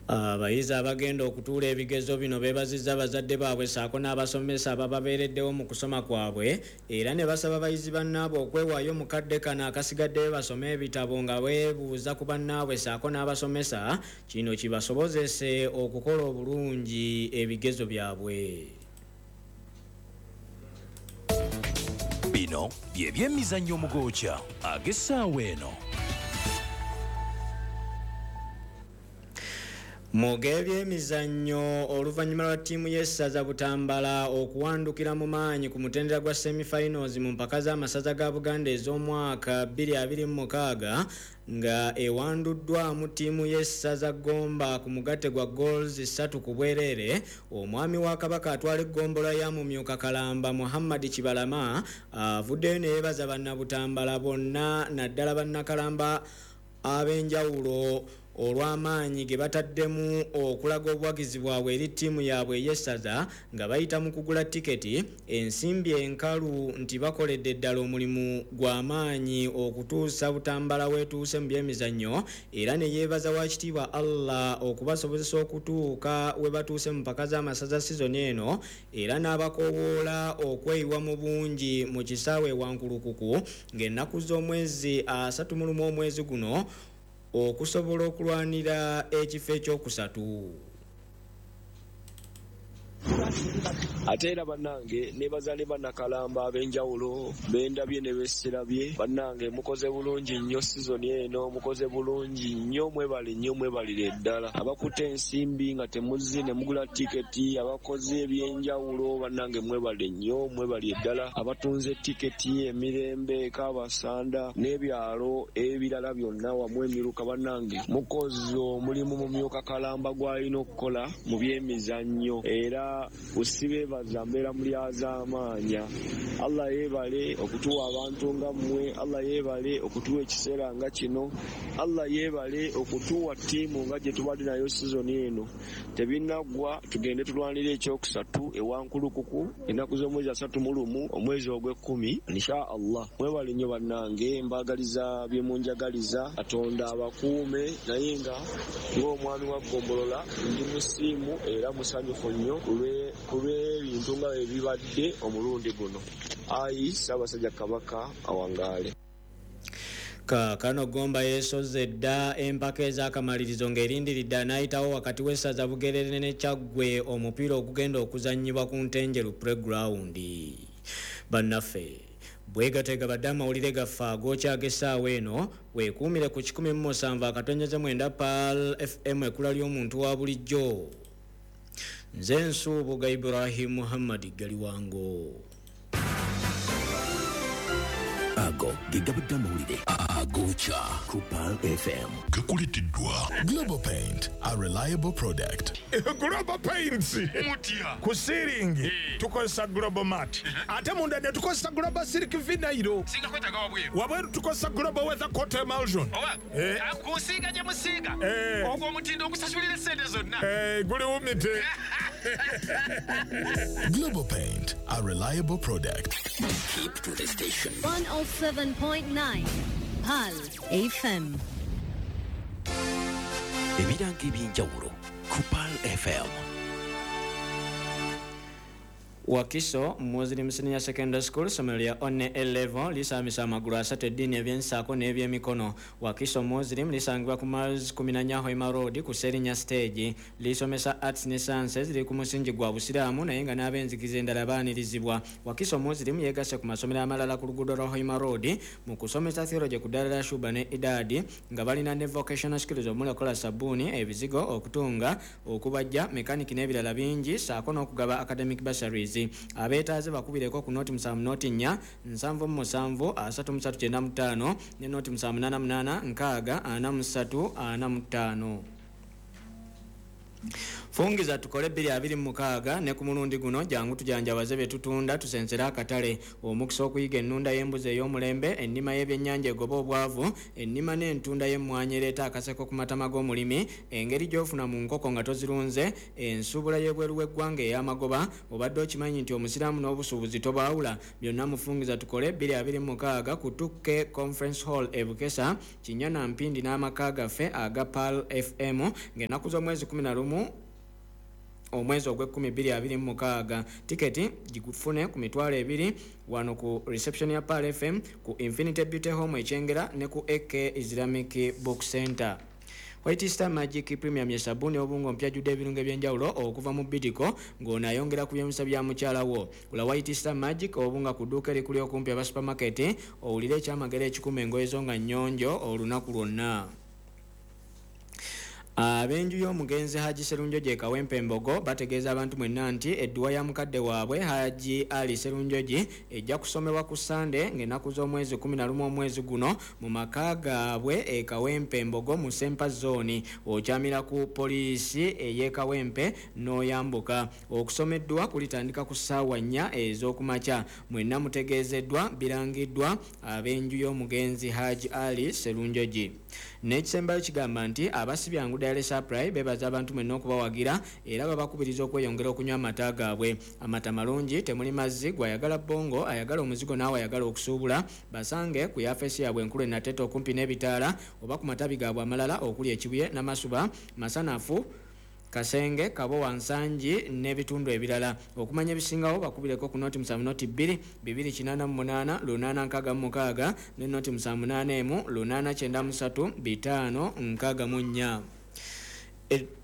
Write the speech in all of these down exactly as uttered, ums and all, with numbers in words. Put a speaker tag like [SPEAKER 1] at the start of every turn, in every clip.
[SPEAKER 1] Abayizi abagenda okutuula ebigezo bino beebazizza bazadde baabwe ssaako n'abasomesa abababeereddewo mu kusoma kwabwe, era ne basaba bayizi bannaabwe okwewaayo mu kadde kano akasigaddeyo basome ebitabo nga beebuuza ku bannaabwe ssaako n'abasomesa, kino kibasobozese okukola obulungi ebigezo byabwe.
[SPEAKER 2] Bino bye byemizannyo omugokya ag'essaawa eno.
[SPEAKER 1] Mu g'ebyemizannyo, oluvannyuma lwa ttiimu y'essaza Butambala okuwandukira mu maanyi ku mutendera gwa semifinals mu mpaka z'amasaza ga Buganda ez'omwaka bbiri abiri mu mukaaga nga ewanduddwamu ttiimu y'essaza Gomba ku mugatte gwa goals ssatu ku bwereere, omwami wa Kabaka atwala eggombolola ya Mumyuka Kalamba Muhammad Kibalama avuddeyo ne yeebaza bannabutambala bonna naddala bannakalamba ab'enjawulo olw'amaanyi ge bataddemu okulaga obuwagizi bwabwe eri ttiimu yaabwe ey'essaza nga bayita mu kugula tiketi, ensimbi enkalu nti bakoledde ddala omulimu gw'amaanyi okutuusa Butambala weetuuse mu byemizannyo, era ne yeebaza Wakitiibwa Allah okubasobozesa okutuuka we batuuse mu mpaka z'amasaza sizoni eno, era n'abakoowoola okweyiwa mu bungi mu kisaawe e Wankulukuku ng'ennaku z'omwezi asatu mu lumu omwezi guno okusobola okulwanira ekifo ekyokusatu.
[SPEAKER 3] Ate era bannange nebaza ne bannakalamba ab'enjawulo bendabye ne besirabye. Bannange mukoze bulungi nnyo sizoni eno, mukoze bulungi nnyo, mwebale nnyo, mwebalire ddala. Abakutte ensimbi nga temuzze ne mugula tiketi, abakoze ebyenjawulo, bannange mwebale nnyo, mwebalire ddala. Abatunze tiketi emirembe, Kabasanda n'ebyalo ebirala byonna wamu emiruka, bannange mukoze omulimu Mumyuka Kalamba gw'alina okukola mu byemizannyo. Era usibeebaza mbeera mulyazaamaanya. Allah yeebale okutuwa abantu nga mmwe, Allah yeebale okutuwa ekiseera nga kino, Allah yeebale okutuwa ttiimu nga gye tubadde nayo sizoni eno. Tebinnaggwa, tugende tulwanire ekyokusatu e Wankulukuku ennaku z'omwezi asatu mu lumu omwezi ogw'ekkumi insha Allah. Mwebale nnyo bannange, mbaagaliza bye munjagaliza, Katonda abakuume. Naye nga ng'omwami wa ggombolola ndi musiimu era musanyufu nnyo ku lw'ebintu nga bwe bibadde omulundi guno. Ayi Ssaabasajja Kabaka awangaale.
[SPEAKER 1] Kaakano Gomba yeesozze dda empaka ez'akamalirizo ng'erindiridde anaayitawo wakati w'essaza Bugerere ne Kyaggwe omupiira ogugenda okuzannyibwa ku Ntenjeru Playground. Bannaffe bwegateega badde amawulire gaffe agookya ag'essaawa eno, weekuumire ku kikumi mu musanvu akatonyeze mwenda Pearl F M ekkula ly'omuntu wa bulijjo. Nze Nsubuga Ibrahim Muhammad Galiwango.
[SPEAKER 2] Ago ge gabadde amawulire agokya ku Pearl F M.
[SPEAKER 4] Gakuleeteddwa
[SPEAKER 5] Global Paint, a reliable product.
[SPEAKER 6] Global Paints
[SPEAKER 7] mutya
[SPEAKER 6] ku ceiling tukozesa Global Mat, ate munda ne tukozesa Global Silk Vinyl.
[SPEAKER 7] Singa kwetaaga wabweru,
[SPEAKER 6] wabweru tukozesa Global Weather Coat Emulsion.
[SPEAKER 7] Oba kusiiga gye musiiga ogwo omutindo okusasulira essente zonna
[SPEAKER 6] guli wumite.
[SPEAKER 5] Global Paint, a reliable product.
[SPEAKER 2] Keep to the station.
[SPEAKER 8] one oh seven point nine Pearl F M.
[SPEAKER 2] Ebirango ebyenjawulo ku Pearl F M.
[SPEAKER 1] Wakiso Muslim Senior Secondary School ssomero lya One A Level lisaamisa amagulu asatu eddiini ebyensaako n'ebyemikono. Wakiso Muslim lisangibwa ku Miles kumi na nnya Hoima Road ku Serinya Stage. Lisomesa arts ne sciences, liri ku musingi gwa Busiraamu naye nga n'ab'enzikiriza endala baanirizibwa. Wakiso Muslim yeegasse ku masomero amalala ku luguudo lwa Hoima Road mu kusomesa theology ku ddaala lya Shuba ne Idadi nga balina ne vocational skills omuli okukola sabbuuni, ebizigo, okutunga, okubajja, mekaniki n'ebirala bingi ssaako n'okugaba academic bursaries. Abeetaaze bakubireko ku noti musanvu noti nnya nsanvu mu musanvu asatu mu ssatu kyenda mu ttaano ne noti musanvu munaana munaana nkaaga ana mu ssatu ana mu ttaano. Fungiza tukole bbiri abiri mu mukaaga ne ku mulundi guno jangu tujanjabaze bye tutunda tusensere akatale. Omukisa okuyiga ennunda y'embuzi ey'omulembe, ennima y'ebyennyanja egoba obwavu, ennima n'entunda y'emmwanyi ereeta akaseko ku matama g'omulimi, engeri gy'ofuna mu nkoko nga tozirunze, ensuubula y'ebweru w'eggwanga ey'amagoba. Obadde okimanyi nti omusiraamu n'obusuubuzi tobaawula? Byonna mufungiza tukole bbiri abiri mu mukaaga ku Tukke Conference Hall e Bukesa, Kinyana Mpindi n'amaka gaffe aga Pearl F M ng'ennaku z'omwezi kkumi na lumu omwezi ogw'ekkumi bbiri abiri mu mukaaga. Tiketi gikufune ku mitwalo ebiri wano ku reception ya Pearl F M, ku Infinity Beauty Home Ekyengera ne ku A K Islamic Book Center. White Star Magic Premium ye sabuni obungo mpya judde ebirungo ebyenjawulo okuva mu Bidiko ng'ono ayongera ku byemisa bya mukyala wo. Gula White Star Magic obunga ku dduuka erikuli okumpi aba supermarket owulire ekyamagero ekikuma engoye zo nga nnyonjo olunaku lwonna. Ab'enju y'omugenzi Haji Serunjogi e Kawempe Mbogo bategeeza abantu mwenna nti edduwa ya mukadde waabwe Haji Ali Serunjogi ejja kusomebwa ku Ssande ng'ennaku z'omwezi kkumi na lumu omwezi guno mu maka gaabwe e Kawempe Mbogo mu Sempa Zone. Okyamira ku poliisi ey'e Kawempe n'oyambuka. Okusoma edduwa kulitandika ku ssaawa nnya ez'okumakya. Mwenna mutegeezeddwa birangiddwa ab'enju y'omugenzi Haji Ali Serunjogi. N'ekisembayo kigamba nti abasibyangu Dairy Supply bebaza abantu mwenna okubawagira era babakubiriza okweyongera okunywa amata gaabwe. Amata malungi, temuli mazzi, gwayagala bongo, ayagala omuzigo naawe ayagala okusuubula, basange ku yafeesi yaabwe enkulu e Nateete okumpi n'ebitaala oba ku matabi gaabwe amalala okuli Ekibuye, Namasuba, Masanafu, Kasenge, Kabowa, Nsangi n'ebitundu ebirala. Okumanya ebisingawo bakubireko ku noti musanvu noti bbiri bibiri kinaana mu munaana lunaana nkaaga mu mukaaga ne noti musanvu munaana emu lunaana kyenda mu ssatu bitaano nkaaga mu nnya.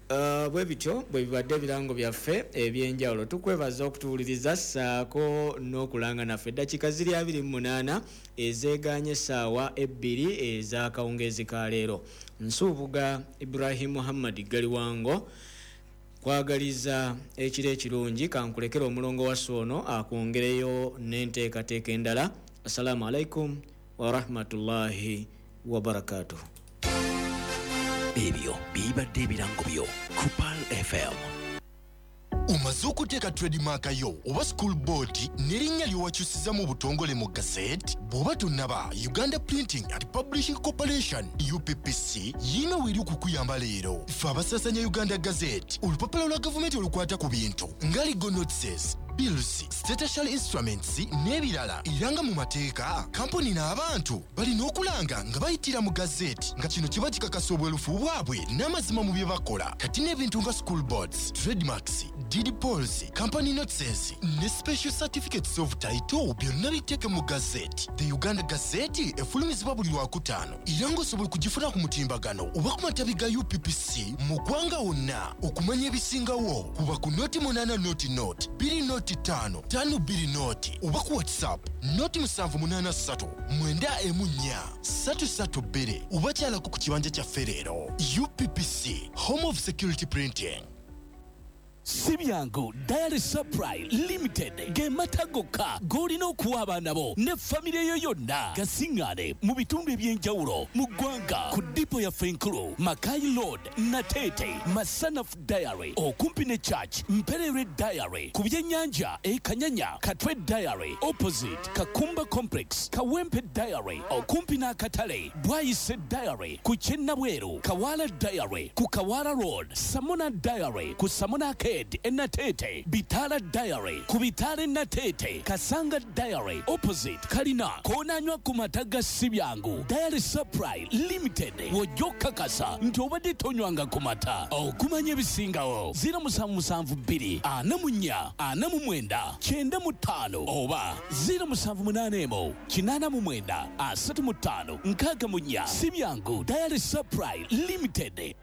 [SPEAKER 1] Uh, bwe bityo bwe bibadde ebirango byaffe ebyenjawulo. Tukwebaza okutuwuliriza ssaako n'okulanga naffe. Eddakiika ziri abiri mu munaana ezeegaanye essaawa ebbiri ez'akawungeezi ka leero. Nsuubuga Ibrahim Muhammad Galiwango kwagaliza ekiro ekirungi. Kankulekera omulongo wa Soono akwongereyo n'enteekateeka endala. Assalamu alaikum wa rahmatullahi wa barakatuh.
[SPEAKER 2] Ebyo bibadde ebirango byo ku Pearl F M.
[SPEAKER 4] Omaze okuteeka trademark yo oba school board n'erinnya ly'owakyusiza mu butongole mu gazette? Bw'oba tonnaba, Uganda Printing and Publishing Corporation U P P C yiino weeri okukuyamba leero. Ffe abasaasanya Uganda Gazette, olupapula lwa gavumenti olukwata ku bintu nga legal notices, bills, statutory instruments n'ebirala. Era nga mu mateeka, kampuni n'abantu balina okulanga nga bayitira mu gazette, nga kino kiba kikakasa obwerufu bwabwe n'amazima mu bye bakola. Kati n'ebintu nga school boards, trademarks, deed polls, company notices ne special certificates of title byonna biteeke mu gazette. The Uganda Gazette efulumizibwa buli lwakutaano era ng'osobola okugifuna ku mutimbagano oba ku matabi ga U P P C mu ggwanga wonna. Okumanya ebisingawo kuba ku noti munaana noti noti bbiri noti ttaano ttaano bbiri noti oba ku WhatsApp noti musanvu munaana ssatu mwenda emu nnya ssatu ssatu bbiri oba kyalako ku kibanja kyaffe leero. U P P C, Home of Security Printing.
[SPEAKER 2] Sibyangu Dairy Supply Limited ge mata gokka g'olina okuwa abaana bo ne famire yo yonna. Gasiŋŋaane mu bitundu eby'enjawulo mu ggwanga ku dipo yaffe enkulu Makai Road, Nateete, Masanafu Dairy okumpi ne Church, Mperere Dairy ku byennyanja e Kanyanya, Katwe Dairy opposite Kakumba Complex, Kawempe Dairy okumpi n'akatale, Bwayise Dairy ku Kyennabweru, Kawala Dairy ku Kawala Road, Samona Dairy ku Samona Arcade Enatete, Bitala Diary, Kubitale Natete, Kasanga Diary, opposite Kalina, Konanywa kumataga Sibyangu, Dairy Supply Limited, Wojoka Kasa, nti obadde tonywanga ku mata. Okumanya ebisingawo, ziro musanvu musanvu bbiri, ana mu nnya, ana mu mwenda, kyenda mu ttaano, oba ziro musanvu munaana emu, kinaana mu mwenda, asatu mu ttaano, nkaaga mu nnya. Sibyangu Dairy Supply Limited.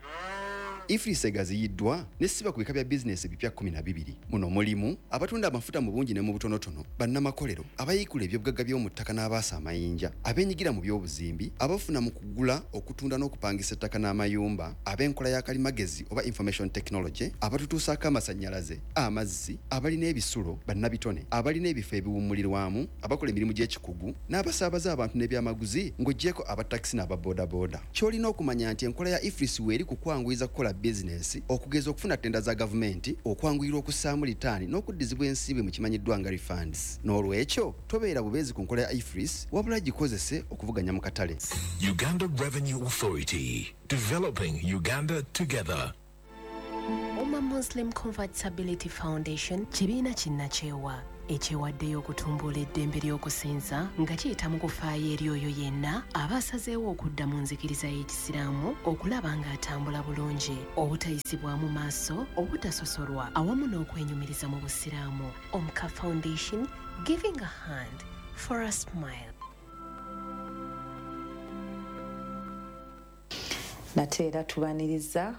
[SPEAKER 9] EFRIS egaziyiddwa nesiba ku bika bya bizinesi ebipya kkumi na bibiri. Muno mulimu abatunda amafuta mu bungi ne mu butonotono, bannamakolero, abayiikula ebyobugagga by'omu ttaka n'abaasa amayinja, abeenyigira mu by'obuzimbi, abafuna mu kugula, okutunda n'okupangisa ettaka n'amayumba, ab'enkola ya kalimagezi oba information technology, abatutuusaako amasannyalaze, amazzi, abalina ebisulo, bannabitone, abalina ebifo ebiwummulirwamu, abakola emirimu gy'ekikugu, n'abasaabaza abantu n'ebyamaguzi ng'oggyeko abatakisi n'ababoodabooda. Ky'olina okumanya nti enkola ya EFRIS weeri ku kwanguyiza kukola bizinensi, okugeza okufuna ttenda za gavumenti, okwanguyirwa okussaamu litaani n'okuddizibwa ensimbi mu kimanyiddwa nga refunds. N'olwekyo tobeera bubeezi ku nkola ya EFRIS, wabula gikozese okuvuganya mu katale.
[SPEAKER 5] Uganda Revenue Authority, developing Uganda together.
[SPEAKER 10] Umma Muslim Convertibility Foundation kibiina kinnakyewa ekyewaddeyo okutumbula eddembe ly'okusinza nga kiyita mu kufaayo eri oyo yenna aba asazeewo okudda mu nzikiriza y'Ekisiraamu okulaba ng'atambula bulungi, obutayisibwamu maaso, obutasosolwa awamu n'okwenyumiriza mu Busiraamu. Omka Foundation, giving a hand for a smile.
[SPEAKER 11] Nate era tubaniriza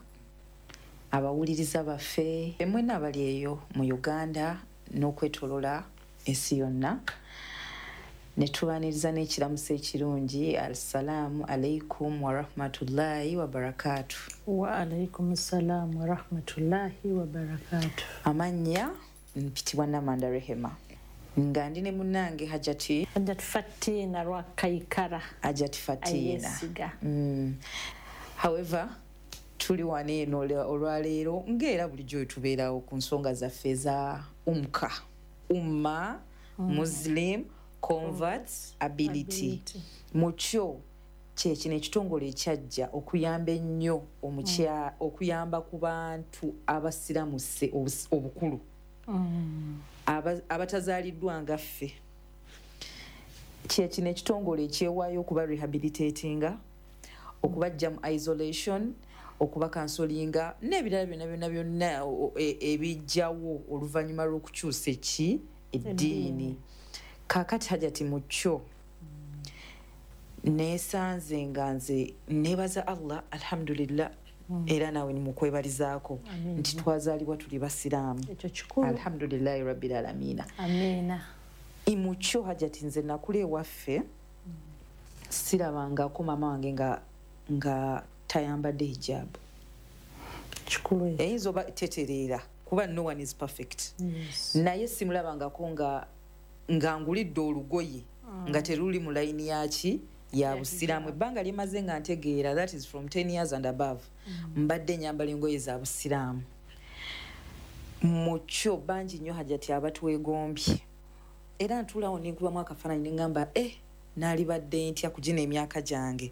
[SPEAKER 11] abawuliriza baffe mwenna abali eyo mu Uganda n'okwetolola ensi yonna, ne tubaniriza n'ekiramuso ekirungi. Assalaamu alaikum warahmatullahi wabarakatu.
[SPEAKER 12] Wa alaikum salaam warahmatullahi wabarakatu.
[SPEAKER 11] Amannya mpitibwa Namanda Rehema, nga ndi ne munnange Hajati
[SPEAKER 12] Hajati Fatina Lwakaikara.
[SPEAKER 11] Hajati Fatina. Mm. However, tuli wano eno olwaleero ng'era bulijjo tubeerawo ku nsonga zaffe eza UMCA, Umma mm. Muslim Converts Ability. Mu kyo kye kino ekitongole ekyajja okuyamba ennyo omukya mm. okuyamba ku bantu abasiramuse obukulu mm. abatazaaliddwa nga ffe. Kye kino ekitongole ekyewaayo okuba rehabilitatinga, okubajja mu isolation, okuba kansolinga n'ebirala byonna byonna byonna ebijjawo oluvannyuma lw'okukyusa eki eddiini. Kaakati Hajati mu kyo neesanze nga nze neebaza Allah, alhamdulillah, era naawe nimukwebalizaako nti twazaalibwa tuli basiraamu, alhamdulillahi rabbil alamiina.
[SPEAKER 12] Amiina.
[SPEAKER 11] Mu kyo Hajati nze nakula ewaffe sirabangako maama wange nga nga tayambadde hijab.
[SPEAKER 12] Kikulu
[SPEAKER 11] eyinza oba tetereera kuba no one is perfect.
[SPEAKER 12] Yes.
[SPEAKER 11] Naye simulabangako nga nga ngulidde olugoye mm. nga teruli mu layini yaki ya busiraamu. Ebbanga lyemaze nga ntegeera, that is from ten years and above, mm. mbadde nyambala engoye za busiraamu. Mu kyo bangi nnyo Hajati abatwegombye, era ntuulawo nenkubamu akafaananyi ne ŋŋamba eh naalibadde ntya kugina emyaka gyange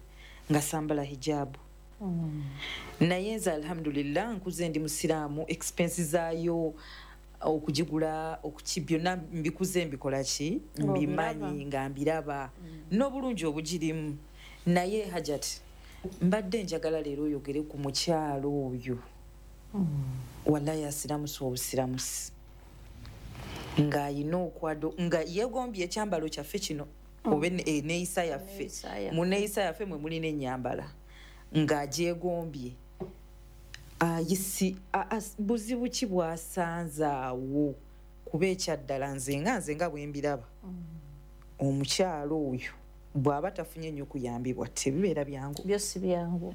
[SPEAKER 11] nga sambala hijabu.
[SPEAKER 12] Mm.
[SPEAKER 11] Naye nze alhamdulillah nkuze ndi musiraamu, expenses zaayo okugigula okuki byonna mbikuze mbikola ki mbimanyi nga mbiraba mm. n'obulungi obugirimu. Naye Hajati mbadde njagala leero oyogere ku mukyalo oyo mm. wallahi asiramusi obusiramusi ng'ayina okwado nga yeegombye ekyambalo kyaffe kino oba neeyisa yaffe, mu neeyisa yaffe mwe mulina ennyambala ng'agyegombye, ayisi buzibu ki bw'asanze awo? Kuba ekyaddala nze nga nze nga bwe mbiraba, omukyalo oyo bw'aba tafunye nnyo kuyambibwa tebibeera byangu.
[SPEAKER 12] Byo si byangu.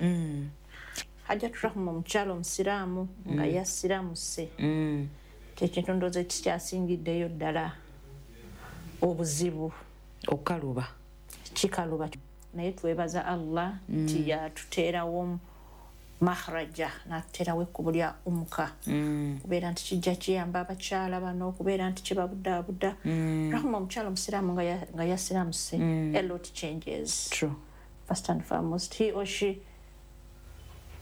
[SPEAKER 12] Hajati Rahma omukyalo omusiraamu nga yasiramuse, kyekintu ndowooza kikyasingiddeyo ddala obuzibu
[SPEAKER 11] okaluba
[SPEAKER 12] kikaluba. Naye twebaza Allah nti yatuteerawo mahraja, n'atuteerawo ekkubo lya UMCA, okubeera nti kijja kiyamba abakyala bano, okubeera nti kibabudaabuda. Rahma omukyala omusiraamu nga yasiramuse, a lot changes.
[SPEAKER 11] True.
[SPEAKER 12] First and foremost, he or she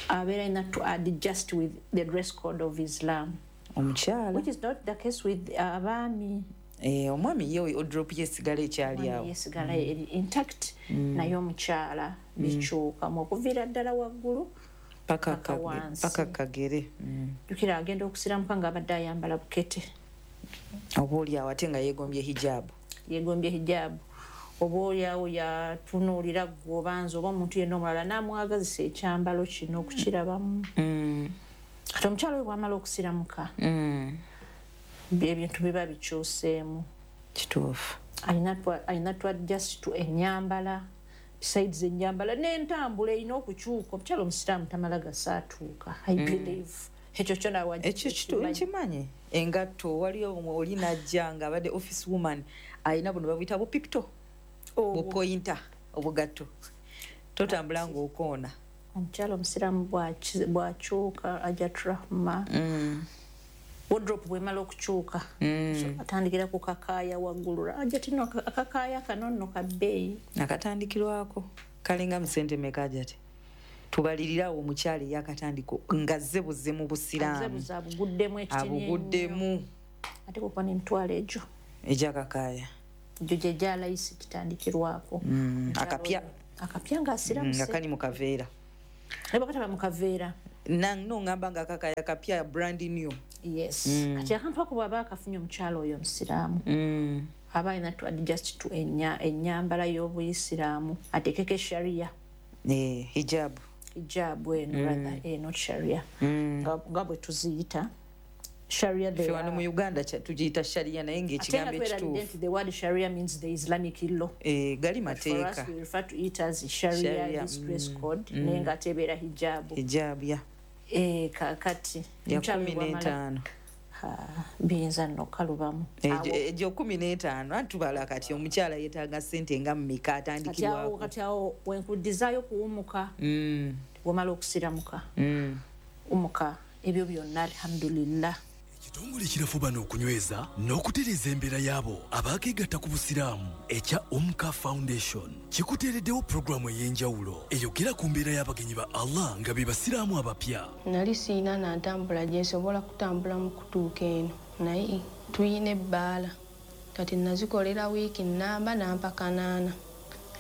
[SPEAKER 12] abeera alina to adjust with the dress code of Islam,
[SPEAKER 11] omukyala,
[SPEAKER 12] which is not the case with abaami.
[SPEAKER 11] Eh, omwami ye odrop yesigala ekyali awo
[SPEAKER 12] yesigala eri intact, naye omukyala bikyukamu okuviira ddala waggulu
[SPEAKER 11] paka paka kagere.
[SPEAKER 12] Jjukira agenda okusiramuka ng'abadde ayambala bukete,
[SPEAKER 11] oba oli awo ate nga yeegombye hijaabu,
[SPEAKER 12] yeegombye hijaabu, oba oli awo yatunuulira ggwe obanza oba omuntu yenna omulala n'amwagazisa ekyambalo kino okukirabamu. Kati omukyala oyo bw'amala okusiramuka ebintu biba bikyuseemu.
[SPEAKER 11] Kituufu.
[SPEAKER 12] Alina to adjust to ennyambala, besides ennyambala n'entambula erina okukyuka. Omukyala omusiraamu tamala gasaatuuka, I believe. Ekyo kyo nawe
[SPEAKER 11] ekyo kitu nkimanyi. Engatto waliyo oli najja nga abadde office woman alina buno babuyita bupipito, bupointa obugatto, totambula ng'okoona.
[SPEAKER 12] Omukyala omusiraamu bw'akyuka Hajat Rahma,
[SPEAKER 11] mm.
[SPEAKER 12] wardrobe bwemala okukyuka,
[SPEAKER 11] mm.
[SPEAKER 12] so atandikira ku kakaaya waggulu. Hajat no akakaaya kano nno ka bbeeyi.
[SPEAKER 11] Akatandikirwako kalinga mu ssente mmeka Hajat? Tubalirirawo omukyala eyakatandika nga azze buzze mu busiraamu.
[SPEAKER 12] Azze buzze abuguddemu ekitini.
[SPEAKER 11] Abuguddemu.
[SPEAKER 12] Ate kuba n'emitwalo egyo.
[SPEAKER 11] Egy'akakaaya.
[SPEAKER 12] Egyo gye gyalayisi kitandikirwako.
[SPEAKER 11] Mm. Akapya.
[SPEAKER 12] Akapya ng'asiramuse.
[SPEAKER 11] Nga kali mu kaveera.
[SPEAKER 12] Naye bw'akataba mu kaveera.
[SPEAKER 11] No ngamba nga akakaaya kapya brand new.
[SPEAKER 12] Yes.
[SPEAKER 11] Mm.
[SPEAKER 12] Kati akantu ako bw'aba akafunye omukyala oyo omusiraamu.
[SPEAKER 11] Mm.
[SPEAKER 12] Aba alina to adjust to enya ennyambala y'obuyisiraamu ateekeko sharia.
[SPEAKER 11] Eh, hijab.
[SPEAKER 12] Hijab eno,
[SPEAKER 11] mm.
[SPEAKER 12] rather, eh, not sharia.
[SPEAKER 11] Mm.
[SPEAKER 12] Nga bwe tuziyita. Sharia
[SPEAKER 11] Ffe wano mu Uganda tugiyita sharia naye ng'ekigambo ekituufu.
[SPEAKER 12] The word sharia means the Islamic law.
[SPEAKER 11] Eh, gali
[SPEAKER 12] But for us,
[SPEAKER 11] mateeka.
[SPEAKER 12] we refer to it as sharia,
[SPEAKER 11] Sharia,
[SPEAKER 12] this dress
[SPEAKER 11] mm,
[SPEAKER 12] code,
[SPEAKER 11] mm.
[SPEAKER 12] naye ng'ate ebeera hijabu.
[SPEAKER 11] Hijab, ya.
[SPEAKER 12] Eh, kaakati.
[SPEAKER 11] Ya
[SPEAKER 12] Omukyala
[SPEAKER 11] kumi
[SPEAKER 12] bw'amala-
[SPEAKER 11] n'etaano.
[SPEAKER 12] Ha, biyinza nno okukalubamu.
[SPEAKER 11] Egyo egyo kumi n'etaano antubala kati omukyala yeetaaga ssente nga mmeka
[SPEAKER 12] Kati awo
[SPEAKER 11] atandikirwako.
[SPEAKER 12] kati awo wenkuddizaayo kuwumuka,
[SPEAKER 11] Mm,
[SPEAKER 12] wamala okusiramuka,
[SPEAKER 11] mm.
[SPEAKER 12] umuka ebyo byonna alhamdulillah.
[SPEAKER 2] Ekitongole kirafubana okunyweza n'okutereeza embeera y'abo abaakeegatta ku busiraamu ekya Umka Foundation kikuteereddewo pulogulaamu ey'enjawulo eyogera ku mbeera y'abagenyi ba Allah nga be basiraamu abapya.
[SPEAKER 13] Nali siina nantambula gye nsobola kutambula mu kutuuka eno, naye tuyina ebbaala kati nazikolera wiiki nnamba nampa kanaana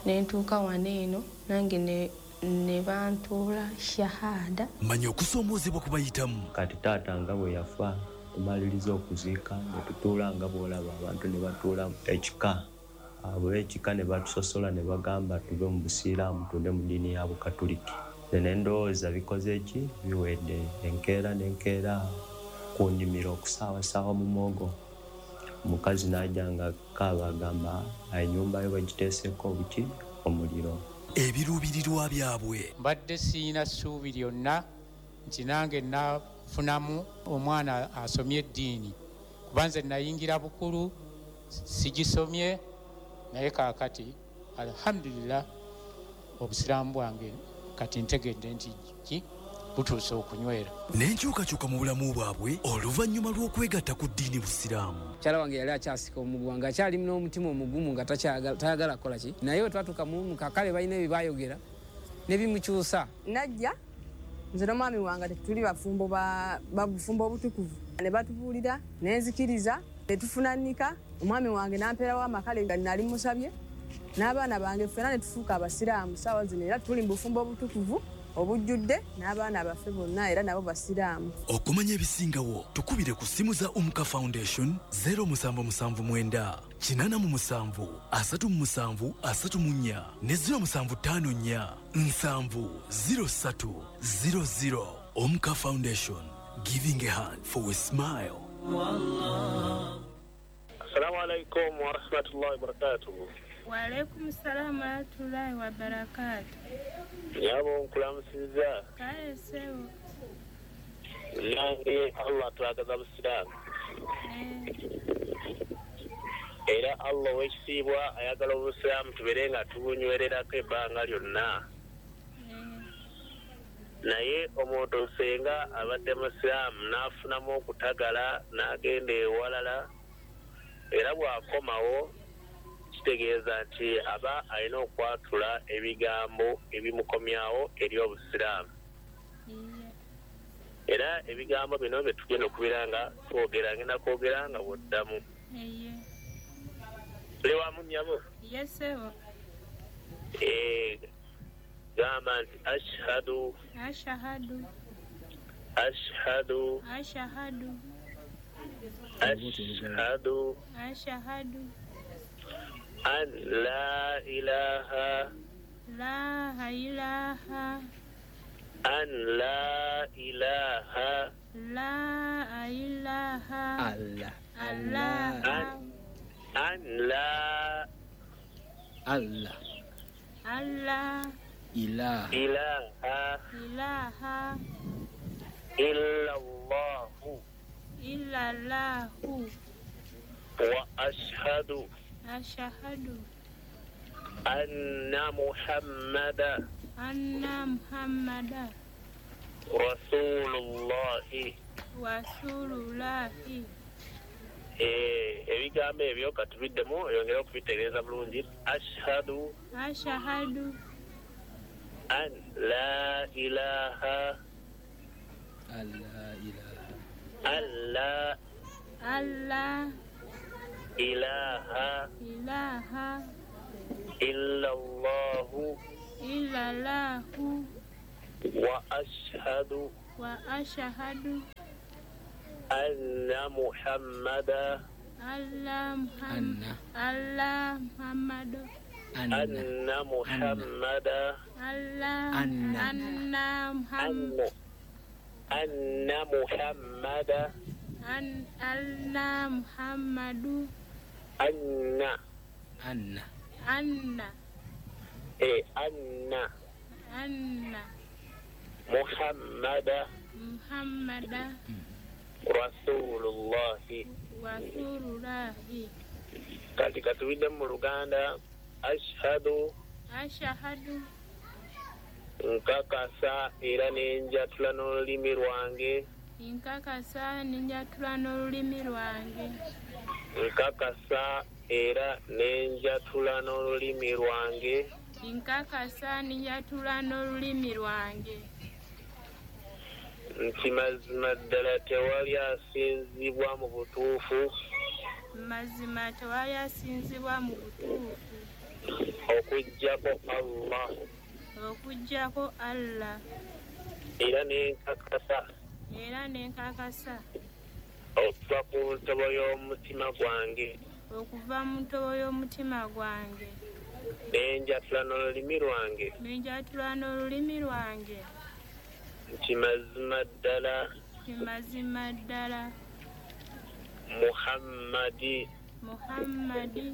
[SPEAKER 13] ne ntuuka wano eno nange ne, ne bantuula shahada.
[SPEAKER 2] Manya okusoomoozebwa ku bayitamu.
[SPEAKER 3] Kati taata nga bwe yafa tumaliriza okuziika ne tutuula nga bw'olaba abantu ne batuula ekika, abo ekika ne batusosola ne bagamba tuve mu busiraamu tudde mu ddiini ya Bukatuliki. Nze ne ndowooza bikoze ki biwedde, enkeera n'enkeera ku nnimiro okusaawasaawa mu muwogo. Omukazi n'ajja nga kaaba agamba ennyumba yo bagiteeseeko obuki omuliro.
[SPEAKER 2] Ebiruubirirwa byabwe.
[SPEAKER 14] Mbadde siyina ssuubi lyonna nti nange nafunamu omwana asomye eddiini, kuba nze nayingira bukulu sigisomye, naye kaakati alhamdulillah obusiraamu bwange kati ntegedde nti ki butuuse okunywera.
[SPEAKER 2] N'enkyukakyuka mu bulamu bwabwe oluvannyuma lw'okwegatta ku ddiini busiraamu.
[SPEAKER 15] Mukyala wange yali akyasika omuguwa ng'akyali n'omutima omugumu nga takyagala tayagala kukola ki, naye bwe twatuuka mu kakale balina ebye baayogera ne bimukyusa.
[SPEAKER 16] Najja nze n'omwami wange tetuli bafumbo ba bufumbo obutukuvu, ne batubuulira ne nzikiriza ne tufunanika. Omwami wange n'ampeerawo amakale nga nali musabye n'abaana bange ffenna ne tufuuka abasiraamu. Ssaawa zino era tuli mu bufumbo obutukuvu obujjudde n'abaana baffe bonna era nabo basiraamu.
[SPEAKER 2] Okumanya ebisingawo tukubire ku ssimu za Umka Foundation zero musanvu musanvu mwenda kinaana mu musanvu asatu mu musanvu asatu mu nnya ne zero musanvu ttaano nnya nsanvu zero ssatu zero zero. Umka Foundation, giving a hand for a smile.
[SPEAKER 17] Assalamu alaikum wa rahmatullahi wa barakatuh.
[SPEAKER 18] Wa alaikum salaam wa rahmatullahi wa barakatuh.
[SPEAKER 17] Nyabo nkulamusiza.
[SPEAKER 18] Kale ssebo.
[SPEAKER 17] Nange Allah twagaza busiraamu. Era Allah ow'ekitiibwa ayagala obusiraamu tubeere nga tubunywererako ebbanga lyonna. Naye omuntu senga abadde musiraamu n'afunamu okutagala n'agenda ewalala, era bw'akomawo kitegeeza nti aba alina okwatula ebigambo ebimukomyawo eri obusiraamu. Era ebigambo bino bye tugenda okubeera nga twogera, ngenda kwogera nga bw'oddamu. Tuli wamu nnyabo?
[SPEAKER 18] Yes, ssebo.
[SPEAKER 17] Eh, gamba nti ashhadu
[SPEAKER 18] Ashhadu
[SPEAKER 17] ashhadu
[SPEAKER 18] Ashhadu
[SPEAKER 17] ashhadu
[SPEAKER 18] Ashhadu
[SPEAKER 17] an la ilaha
[SPEAKER 18] La ilaha
[SPEAKER 17] an la ilaha
[SPEAKER 18] La ilaha
[SPEAKER 15] Allah
[SPEAKER 18] Allah
[SPEAKER 17] an, an la
[SPEAKER 15] Allah
[SPEAKER 18] Allah
[SPEAKER 15] ilaha
[SPEAKER 17] ilaha
[SPEAKER 18] ilaha
[SPEAKER 17] illa Allahu
[SPEAKER 18] illa Allahu
[SPEAKER 17] wa ashhadu
[SPEAKER 18] ashhadu
[SPEAKER 17] anna Muhammada
[SPEAKER 18] Anna Muhammada
[SPEAKER 17] Rasulullahi
[SPEAKER 18] Rasulullahi.
[SPEAKER 17] Eh, ebigambo ebyo katubiddemu oyongere okubitegeeza bulungi. Ashhadu
[SPEAKER 18] Ashhadu
[SPEAKER 17] an la ilaha
[SPEAKER 15] alla ilaha
[SPEAKER 17] alla
[SPEAKER 18] alla
[SPEAKER 17] ilaha
[SPEAKER 18] ilaha
[SPEAKER 17] illallahu
[SPEAKER 18] illallahu
[SPEAKER 17] wa ashhadu
[SPEAKER 18] wa ashhadu
[SPEAKER 17] anna Muhammada
[SPEAKER 18] alla Muhammad alla Muhammad
[SPEAKER 17] anna Muhammada
[SPEAKER 18] alla anna Muhammad
[SPEAKER 17] anna Muhammada
[SPEAKER 18] an anna Muhammadu
[SPEAKER 17] anna
[SPEAKER 15] anna
[SPEAKER 18] anna
[SPEAKER 17] eh anna
[SPEAKER 18] anna
[SPEAKER 17] Muhammada
[SPEAKER 18] Muhammada
[SPEAKER 17] Rasulullahi
[SPEAKER 18] Rasulullahi.
[SPEAKER 17] Kati katuwidde mu Luganda. Ashhadu
[SPEAKER 18] Ashhadu
[SPEAKER 17] nkakasa era nenjatula n'olulimi lwange
[SPEAKER 18] nkakasa nenjatula n'olulimi lwange
[SPEAKER 17] nkakasa era nenjatula n'olulimi lwange
[SPEAKER 18] nkakasa nenjatula n'olulimi lwange
[SPEAKER 17] nti mazima ddala tewali asinzibwa mu butuufu
[SPEAKER 18] mazima tewali asinzibwa mu butuufu
[SPEAKER 17] okuggyako Allah
[SPEAKER 18] okuggyako Allah
[SPEAKER 17] era nenkakasa
[SPEAKER 18] era nenkakasa
[SPEAKER 17] okuva ku ntobo y'omutima gwange
[SPEAKER 18] okuva mu ntobo y'omutima gwange
[SPEAKER 17] nenjatula n'olulimi lwange
[SPEAKER 18] nenjatula n'olulimi lwange
[SPEAKER 17] nti mazima ddala
[SPEAKER 18] nti mazima ddala
[SPEAKER 17] Muhammadi
[SPEAKER 18] Muhammadi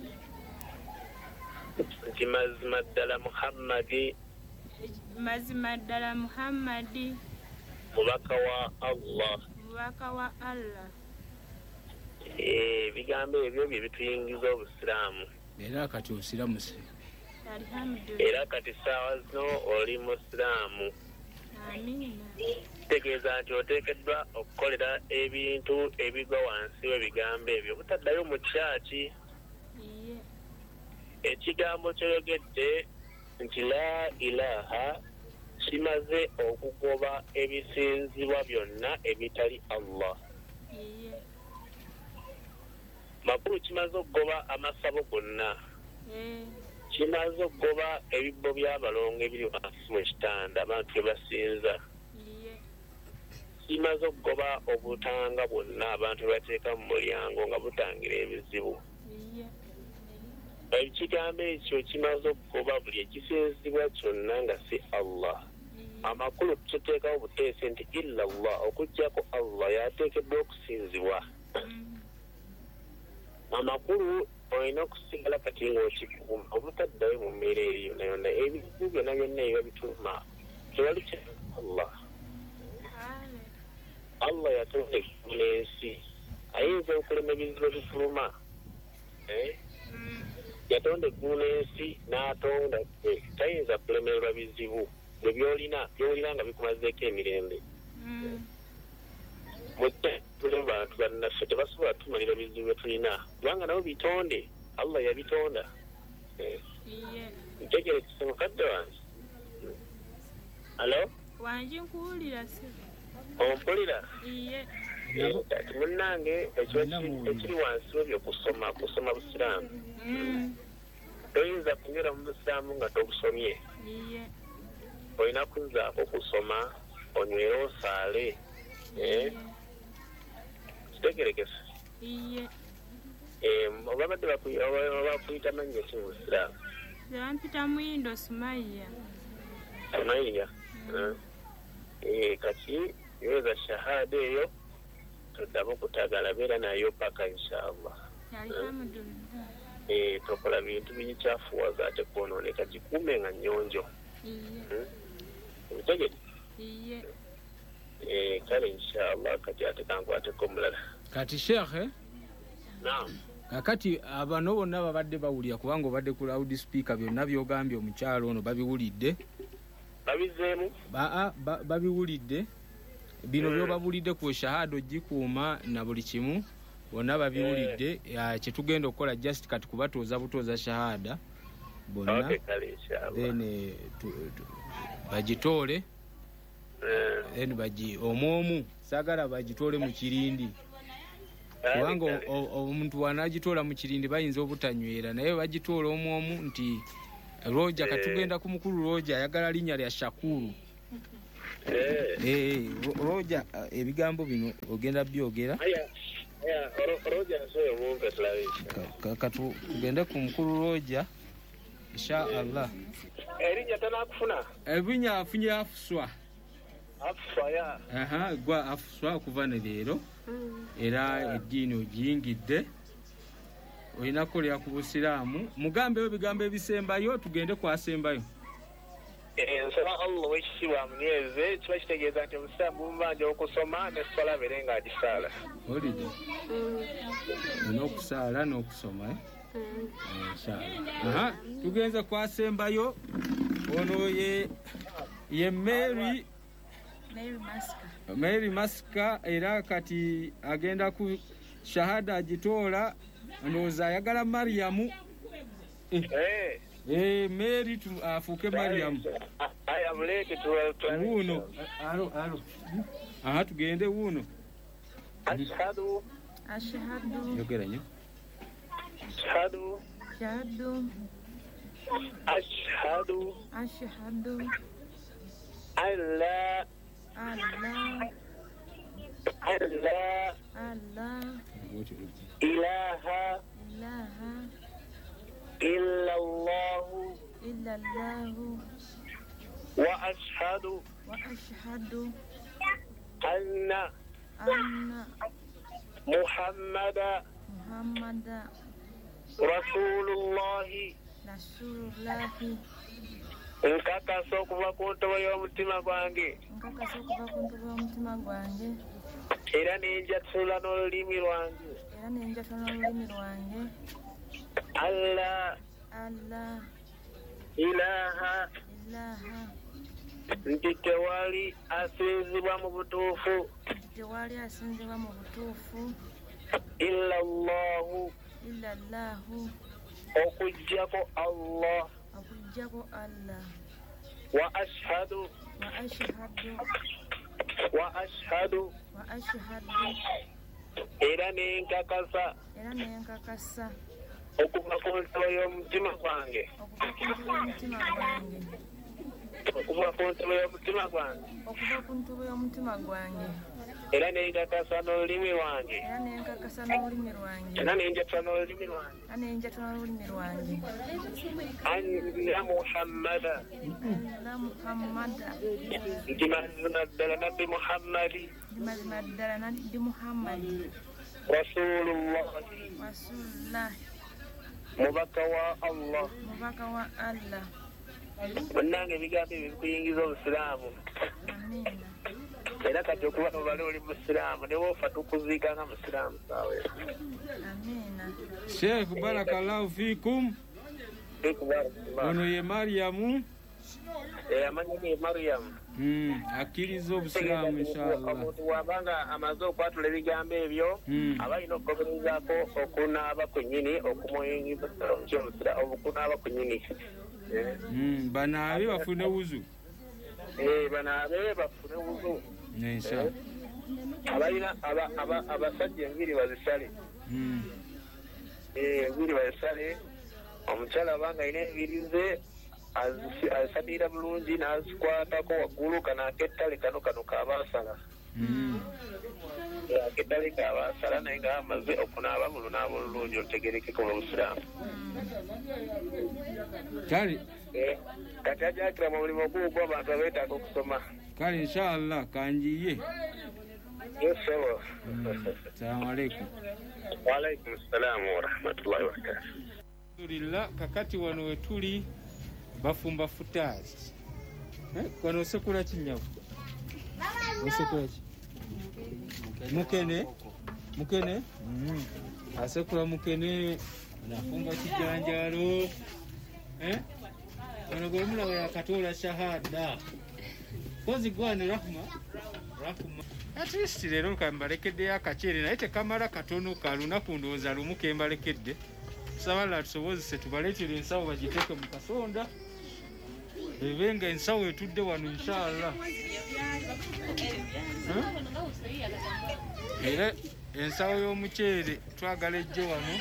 [SPEAKER 17] nti mazima ddala Muhammadi
[SPEAKER 18] mazima ddala Muhammadi
[SPEAKER 17] mubaka wa Allah
[SPEAKER 18] mubaka wa Allah.
[SPEAKER 17] Ebigambo ebyo bye bituyingiza obusiraamu
[SPEAKER 19] era kati osiramuse
[SPEAKER 18] alhamdulillah
[SPEAKER 17] era kati ssaawa zino oli musiraamu.
[SPEAKER 18] Amina.
[SPEAKER 17] Kitegeeza nti oteekeddwa okukolera ebintu ebigwa wansi w'ebigambo ebyo obutaddayo mu kyaki. Ekigambo kyoyogedde nti la ilaha kimaze okugoba ebisinzibwa byonna ebitali Allah. Makulu kimaze okugoba amasabo gonna, kimaze okugoba ebibbo by'abalongo ebiri wansi mu kitanda abantu bye basinza, kimaze okugoba obutanga bwonna abantu bwe bateeka mu mulyango nga butangira ebizibu. Ekigambo ekyo kimaze okugoba buli ekisinzibwa kyonna nga si Allah. Amakulu tuteekawo buteesi nti illa Allah, okuggyako Allah y'ateekeddwa okusinzibwa. Amakulu olina okusigala kati ng'okikuuma obutaddayo mu mbeera eyo yonna yonna. Ebizibu byonna byonna ebiba bituluma tewali kya Allah. Allah yatonda eggulu n'ensi, ayinza okulema ebizibu ebituluma. Yatonda eggulu n'ensi n'atonda ggwe, tayinza kulemererwa bizibu bwe by'olina by'olina nga bikumazeeko emirembe. Mujja bantu bannaffe tebasobola tumalira bizibu bye tulina kubanga nabo bitonde, Allah yabitonda. Ntegerekese mukadde wange. Alo?
[SPEAKER 18] Wangi nkuwulira si.
[SPEAKER 17] Ompulira?
[SPEAKER 18] Iye.
[SPEAKER 17] Kati munnange ekiri wansi w'ebyo kusoma kusoma busiraamu. Toyinza kunywera mu busiraamu nga tobusomye. Olina kuzzaako kusoma onywere osaale. Kitegerekese?
[SPEAKER 18] Iye.
[SPEAKER 17] Oba badde bakuyita mannya ki mu busiraamu?
[SPEAKER 18] Nze bampita Muyindo Sumaiya.
[SPEAKER 17] Sumaiya? Kati yoza shahada eyo toddamu kutagala beera nayo paka inshallah.
[SPEAKER 18] Alhamdulillah.
[SPEAKER 17] Eh, tokola bintu bikyafuwaza ate kwonooneka, gikuume nga nnyonjo. Obitegedde?
[SPEAKER 18] Iye.
[SPEAKER 17] Eh, kale inshallah kati ate kankwateko omulala.
[SPEAKER 19] Kati Sheikh,
[SPEAKER 17] Naam.
[SPEAKER 19] Kakati abano bonna babadde bawulira kubanga obadde ku loud speaker byonna by'ogambye omukyalo ono babiwulidde.
[SPEAKER 17] Babizeemu?
[SPEAKER 19] Aa, babiwulidde bino mm. Byobabulidde ku shahada ogikuuma na buli kimu bonna babiwulidde. mm. Kyetugenda okukola just kati kubatooza butooza shahada bonna.
[SPEAKER 17] Okay,
[SPEAKER 19] then bagitoole. mm. Then bagi omwomu saagala bagitoole mu kirindi, kubanga omuntu wanagitoola mu kirindi bayinza obutanywera, naye bagitoola omwomu nti Roja. Katugenda ku mukulu Roja, ayagala linnya lya Shakuru. Eh, eh, Roja, ebigambo bino ogenda byogera. Katugende ku mukulu Roja insha Allah.
[SPEAKER 17] Erinnya tanakufuna?
[SPEAKER 19] Erinnya afunye Afuswa.
[SPEAKER 17] Afuswa ya.
[SPEAKER 19] Aha, gwa Afuswa okuva ne leero. Era eddiini ogiyingidde, olina kukolera ku busiraamu. Mugambeyo ebigambo ebisembayo tugende kwasembayo.
[SPEAKER 17] Nsaba Allah ow'ekitiibwa amunyweze. Kiba kitegeeza nti obusiraamu bumubanja okusoma n'esswala abeere ng'agisaala.
[SPEAKER 19] Olidde olina okusaala n'okusoma. Aha, tugenze kwasembayo. Ono ye ye Mary
[SPEAKER 18] Mary Maska.
[SPEAKER 19] Mary Maska era kati agenda ku shahada agitoola, ndowooza ayagala Mariamu. Eh, eh, Mary afuuke Mariamu.
[SPEAKER 17] Aya muleke
[SPEAKER 19] wuuno. Alo, alo. Aha, tugende wuuno.
[SPEAKER 17] Ashhadu.
[SPEAKER 18] Ashhadu.
[SPEAKER 19] Yogera nnyo.
[SPEAKER 17] Ashhadu.
[SPEAKER 18] Ashhadu.
[SPEAKER 17] Ashhadu.
[SPEAKER 18] Ashhadu.
[SPEAKER 17] Alla.
[SPEAKER 18] Allah.
[SPEAKER 17] Allah.
[SPEAKER 18] Allah.
[SPEAKER 17] Ilaha.
[SPEAKER 18] Ilaha.
[SPEAKER 17] Illallahu.
[SPEAKER 18] Illallahu.
[SPEAKER 17] Wa ashhadu.
[SPEAKER 18] Wa ashhadu.
[SPEAKER 17] Anna.
[SPEAKER 18] Anna.
[SPEAKER 17] Muhammada.
[SPEAKER 18] Muhammada.
[SPEAKER 17] Rasulullahi.
[SPEAKER 18] Rasulullahi.
[SPEAKER 17] Nkakasa okuva ku ntobo y'omutima gwange.
[SPEAKER 18] Nkakasa okuva ku ntobo y'omutima gwange.
[SPEAKER 17] Era ne njatula n'olulimi lwange.
[SPEAKER 18] Era ne njatula n'olulimi lwange.
[SPEAKER 17] Allah.
[SPEAKER 18] Allah.
[SPEAKER 17] Ilaha.
[SPEAKER 18] Ilaha.
[SPEAKER 17] Nti tewali asinzibwa mu butuufu.
[SPEAKER 18] Nti tewali asinzibwa mu butuufu.
[SPEAKER 17] Illa Allahu.
[SPEAKER 18] Illa Allahu.
[SPEAKER 17] Okuggyako Allah.
[SPEAKER 18] Okuggyako Allah.
[SPEAKER 17] Wa ashhadu.
[SPEAKER 18] Wa ashhadu.
[SPEAKER 17] Wa ashhadu.
[SPEAKER 18] Wa ashhadu.
[SPEAKER 17] Era ne nkakasa.
[SPEAKER 18] Era ne nkakasa.
[SPEAKER 17] Okuva ku ntobo y'omutima gwange.
[SPEAKER 18] Okuva ku ntobo y'omutima gwange.
[SPEAKER 17] Okuva ku ntobo y'omutima gwange.
[SPEAKER 18] Okuva ku ntobo y'omutima gwange.
[SPEAKER 17] Era ne nkakasa n'olulimi lwange.
[SPEAKER 18] Era ne nkakasa n'olulimi lwange.
[SPEAKER 17] Era ne njatula n'olulimi lwange.
[SPEAKER 18] Era ne njatula n'olulimi lwange.
[SPEAKER 17] Anna Muhammada.
[SPEAKER 18] Anna Muhammada.
[SPEAKER 17] Nti mazima ddala Nabbi Muhammadi.
[SPEAKER 18] Nti mazima ddala Nabbi Muhammadi.
[SPEAKER 17] Rasulullahi.
[SPEAKER 18] Rasulullahi.
[SPEAKER 17] Mubaka wa Allah.
[SPEAKER 18] Mubaka wa Allah.
[SPEAKER 17] Bannange ebigambo ebyo bikuyingiza obusiraamu.
[SPEAKER 18] Amiina.
[SPEAKER 17] Era kati okuba nobale oli musiraamu ne woofa tukuziika nga musiraamu saawe.
[SPEAKER 18] Amiina.
[SPEAKER 19] Sheikh barakallahu fikum. Ono ye Mariamu.
[SPEAKER 17] Eh, amannya ge Mariamu.
[SPEAKER 19] Mm, akkiriza obusiraamu inshallah.
[SPEAKER 17] Omuntu bw'abanga amaze okwatula ebigambo ebyo, aba alina okugoberezaako okunaaba kwennyini okumuyingiza okunaaba kwennyini.
[SPEAKER 19] Mm, banaabe bafune wuzu.
[SPEAKER 17] Eh, banaabe bafune wuzu.
[SPEAKER 19] Inshallah.
[SPEAKER 17] Abalina abasajja enviiri bazisale.
[SPEAKER 19] Mm.
[SPEAKER 17] Eh, enviiri bazisale. Omukyala abanga alina enviiri ze azisalira bulungi n'azikwatako waggulu, kano ak'ettale kano kano kabaasala. Ak'ettale kabaasala naye nga amaze okunaaba mu lunaaba olulungi olutegerekeko mu busiraamu.
[SPEAKER 19] Kale
[SPEAKER 17] kati ajakira mu mulimu guugwo abantu abeetaaga okusoma.
[SPEAKER 19] Kale inshallah kanjiye.
[SPEAKER 17] Yes, sir.
[SPEAKER 19] Assalamu alaikum.
[SPEAKER 17] Wa alaikum assalam wa rahmatullahi wa barakatuh.
[SPEAKER 19] Alhamdulillah, kakati wano wetuli bafumba futaali. Eh, wano osekula ki nnyabu? Osekula ki? Mukene? Mukene? Mm. Asekula mukene, nafumba kijanjaalo. Eh? Ono gwemulaba yakatoola shahada. Kozi gwane Rahma. Rahma. At least leero kambalekeddeyo akaceere naye tekamala katono ka lunaku ndowooza lumu kembalekedde. Tusaba Allah tusobozese tubaleetere ensawo bagiteeke mu kasonda. Ebe nga ensawo etudde wano inshallah. Era ensawo y'omuceere twagala ejje wano.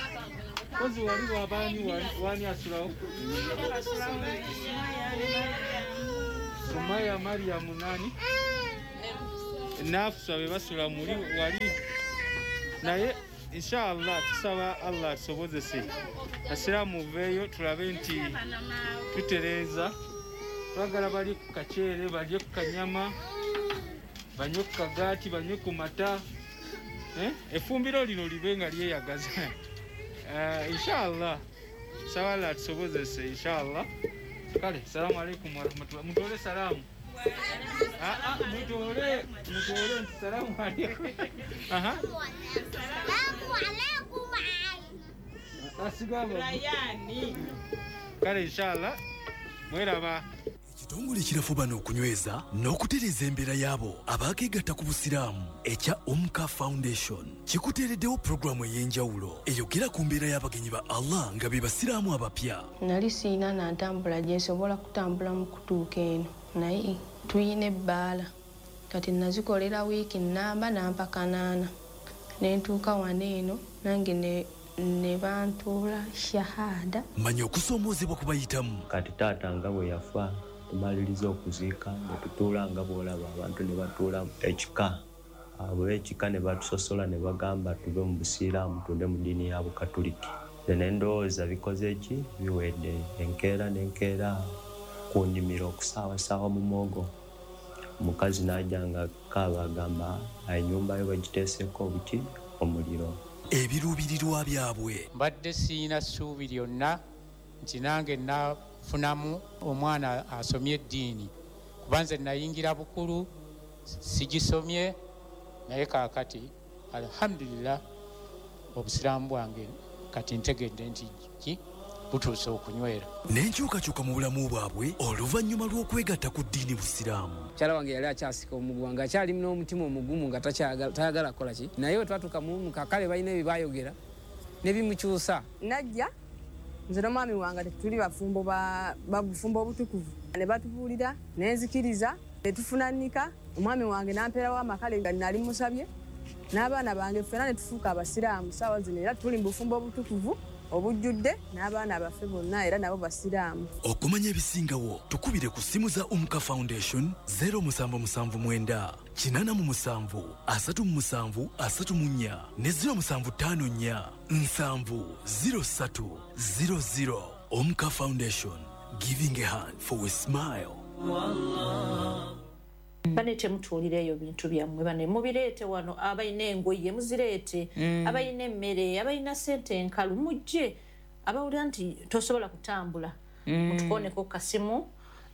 [SPEAKER 19] Kozi wali wabaani wani asulawo? Sumaya Mariamu nani? Nafsa be basula muli wali. Naye inshallah tusaba Allah tusobozese. Asiraamu muveeyo tulabe nti tutereeza. Twagala bali ku kaceere, balye ku kanyama, banywe ku kagaati, banywe ku mata. Eh? Effumbiro lino libe nga lyeyagaza. Uh, inshallah tusaba Allah tusobozese inshallah. Kale, salamu alaikum warahmatullahi. Mutole salamu. Ah ah, mutole, mutole salamu alaikum. Aha.
[SPEAKER 20] Salamu alaikum.
[SPEAKER 19] Asigaba. Rayani. Kale inshallah mweraba.
[SPEAKER 2] Ekitongole kirafuba n'okunyweza n'okutereeza embeera y'abo abaakeegatta ku busiraamu ekya Umka Foundation kikuteereddewo pulogulaamu ey'enjawulo eyogera ku mbeera y'abagenyi ba Allah nga be basiraamu abapya.
[SPEAKER 13] Nali siina na ntambula gye nsobola kutambula mu kutuuka eno, naye tuyina ebbaala. Kati nazikolera wiiki nnamba nampa kanaana ne ntuuka wano eno nange ne ne bantuula shahada.
[SPEAKER 2] Manya okusoomoozebwa kubayitamu.
[SPEAKER 3] Kati taata nga bwe yafa tumaliriza okuziika ne tutuula nga bw'olaba abantu ne batuula ekika. Abo ekika ne batusosola ne bagamba tuve mu busiraamu tudde mu ddiini ya Bukatuliki. Nze ne ndowooza bikoze ki biwedde enkeera n'enkeera ku nnimiro okusaawasaawa mu muwogo. Omukazi n'ajja nga kaaba agamba ennyumba yo bagiteeseeko obuki omuliro.
[SPEAKER 2] Ebiruubirirwa byabwe.
[SPEAKER 14] Mbadde siyina ssuubi lyonna nti nange nafunamu omwana asomye eddiini, kuba nze nayingira bukulu sigisomye, naye kaakati alhamdulillah obusiraamu bwange kati ntegedde nti ki butuuse okunywera.
[SPEAKER 2] N'enkyukakyuka mu bulamu bwabwe oluvannyuma lw'okwegatta ku ddiini busiraamu.
[SPEAKER 15] Mukyala wange yali akyasika omuguwa ng'akyali n'omutima omugumu nga tayagala kukola ki, naye we twatuuka mu kale balina ebye baayogera ne bimukyusa.
[SPEAKER 16] Najja nze n'omwami wange tetuli bafumbo ba bufumbo obutukuvu, ne batubuulira ne nzikiriza ne tufuna nnika. Omwami wange n'ampeerawo amakale nga nali musabye n'abaana bange ffenna ne tufuuka abasiraamu. Ssaawa zino era tuli mu bufumbo obutukuvu obujjudde n'abaana baffe bonna era nabo basiraamu.
[SPEAKER 2] Okumanya ebisingawo tukubire ku ssimu za Umka Foundation zero musanvu musanvu mwenda kinaana mu musanvu asatu mu musanvu asatu mu nnya ne zero musanvu ttaano nnya nsanvu zero ssatu zero zero. Umka Foundation, giving a hand for a smile.
[SPEAKER 12] Bane temutuulireeyo bintu byammwe, bane mubireete wano, abalina engoye muzireete, mm. abalina emmere, abalina ssente enkalu mujje, abawulira nti tosobola kutambula mm. mutukooneko kasimu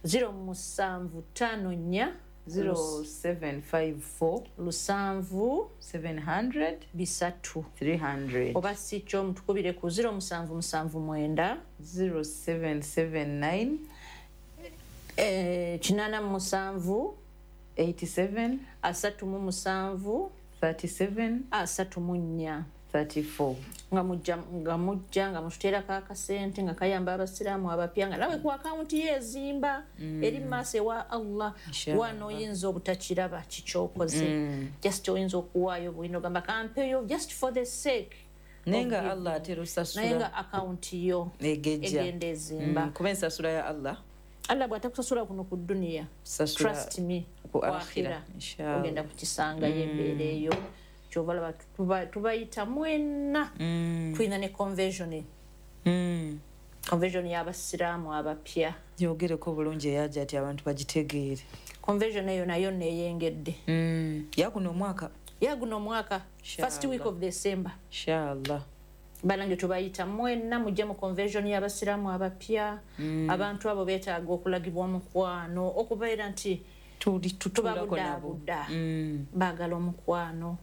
[SPEAKER 12] zero musanvu ttaano nnya
[SPEAKER 11] zero seven five four
[SPEAKER 12] lusanvu
[SPEAKER 11] seven hundred
[SPEAKER 12] bisatu
[SPEAKER 11] three hundred,
[SPEAKER 12] oba si kyo mutukubire ku zero musanvu musanvu mwenda
[SPEAKER 11] zero seven seven nine
[SPEAKER 12] eh, kinaana mu musanvu
[SPEAKER 11] eighty-seven
[SPEAKER 12] asatu mu musanvu
[SPEAKER 11] thirty-seven
[SPEAKER 12] asatu mu nnya
[SPEAKER 11] thirty-four.
[SPEAKER 12] Nga mujja nga mujja nga mututeerako akasente nga kayamba abasiraamu abapya nga nawe ku akawunti ye ezimba mm. eri mu maaso ewa Allah. Wano oyinza obutakiraba kikyokoze mm. just oyinza okuwaayo bwino ogamba kampeeyo just for the sake,
[SPEAKER 11] naye nga Allah atera osasula,
[SPEAKER 12] naye nga akawunti yo egenda ezimba.
[SPEAKER 11] Mm. Kuba ensasula ya Allah,
[SPEAKER 12] Allah bw'atakusasula kuno ku dduniya, trust me,
[SPEAKER 11] ku akhira
[SPEAKER 12] ogenda kukisangayo embeera eyo. Kyova laba tubayita mwenna. Tulina ne convention, convention y'abasiraamu abapya.
[SPEAKER 11] Yogereko bulungi eyaja ati abantu bagitegeere.
[SPEAKER 12] Convention eyo nayo neeyengedde
[SPEAKER 11] yaguno omwaka,
[SPEAKER 12] yaguno omwaka first week of December
[SPEAKER 11] inshallah.
[SPEAKER 12] Banange tubayita mwenna mujje mu convention y'abasiraamu abapya. Mm. Abantu abo beetaaga okulagibwa omukwano, okubeera nti tubabudaabuda, mm. baagala omukwano,